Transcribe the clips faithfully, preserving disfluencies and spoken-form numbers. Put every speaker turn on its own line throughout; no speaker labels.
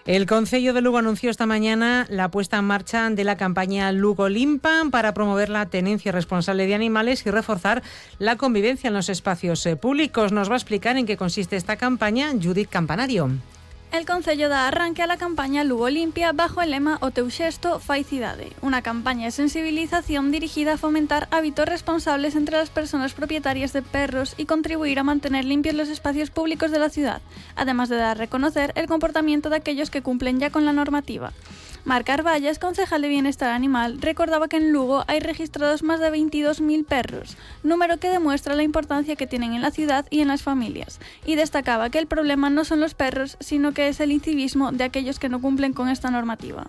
El Concello de Lugo anunció esta mañana la puesta en marcha de la campaña Lugo Limpa para promover la tenencia responsable de animales y reforzar la convivencia en los espacios públicos. Nos va a explicar en qué consiste esta campaña Judith Campanario.
El Concello da arranque a la campaña Lugo Limpia bajo el lema O teu xesto fai cidade, una campaña de sensibilización dirigida a fomentar hábitos responsables entre las personas propietarias de perros y contribuir a mantener limpios los espacios públicos de la ciudad, además de dar a reconocer el comportamiento de aquellos que cumplen ya con la normativa. Marc Arballas, concejal de Bienestar Animal, recordaba que en Lugo hay registrados más de veintidós mil perros, número que demuestra la importancia que tienen en la ciudad y en las familias, y destacaba que el problema no son los perros, sino que es el incivismo de aquellos que no cumplen con esta normativa.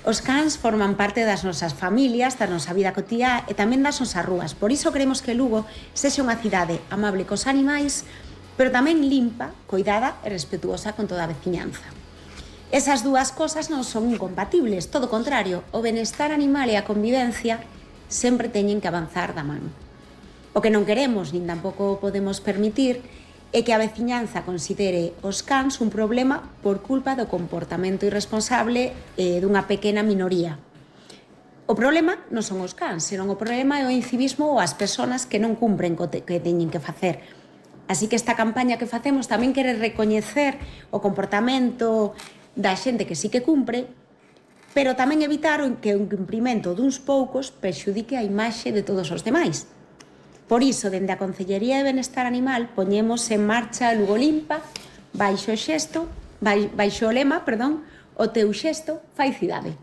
Os cans forman parte das nosas familias, da nosa vida cotiá e tamén das nosas rúas. Por iso queremos que Lugo sexa unha cidade amable cos animais, pero tamén limpa, coidada e respetuosa con toda a veciñanza. Esas dúas cosas non son incompatibles, todo o contrario, o benestar animal e a convivencia sempre teñen que avanzar da man. O que non queremos, nin tampouco podemos permitir, é que a veciñanza considere os cans un problema por culpa do comportamento irresponsable eh, dunha pequena minoría. O problema non son os cans, senón o problema é o incivismo ou as persoas que non cumpren co que teñen que facer. Así que esta campaña que facemos tamén quere recoñecer o comportamento da xente que sí que cumpre, pero tamén evitar que o incumprimento duns poucos perxudique a imaxe de todos os demais. Por iso, dende a Concellería de Benestar Animal, poñemos en marcha Lugo Limpa, baixo o xesto, baixo o lema, perdón, o teu xesto fai cidade.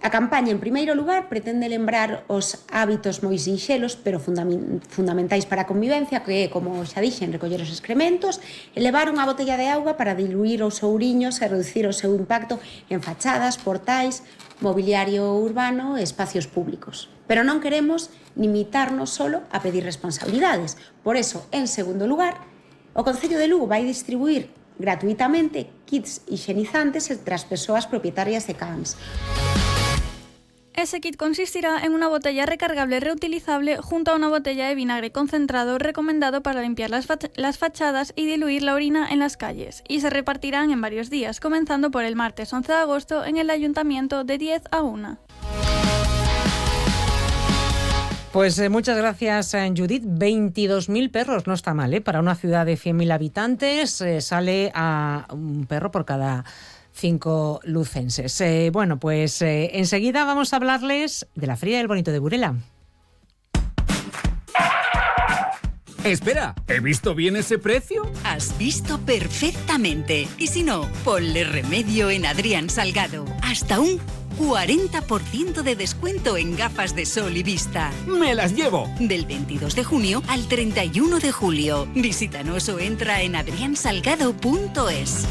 A campaña, en primeiro lugar, pretende lembrar os hábitos moi sinxelos, pero fundamentais para a convivencia, que é, como xa dixen, recoller os excrementos e levar unha botella de auga para diluir os ouriños e reducir o seu impacto en fachadas, portais, mobiliario urbano e espacios públicos. Pero non queremos limitarnos solo a pedir responsabilidades. Por eso, en segundo lugar, o Concello de Lugo vai distribuir gratuitamente kits higienizantes entre as persoas propietarias de cans.
Ese kit consistirá en una botella recargable reutilizable junto a una botella de vinagre concentrado recomendado para limpiar las, fach- las fachadas y diluir la orina en las calles, y se repartirán en varios días, comenzando por el martes once de agosto en el Ayuntamiento de diez a una.
Pues eh, muchas gracias, eh, Judith. veintidós mil perros, no está mal, ¿eh? Para una ciudad de cien mil habitantes eh, sale a un perro por cada cinco lucenses. Eh, bueno, pues eh, enseguida vamos a hablarles de la Feria del Bonito de Burela.
Espera, ¿he visto bien ese precio?
Has visto perfectamente. Y si no, ponle remedio en Adrián Salgado. Hasta un cuarenta por ciento de descuento en gafas de sol y vista.
¡Me las llevo!
Del veintidós de junio al treinta y uno de julio. Visítanos o entra en adrián salgado punto es.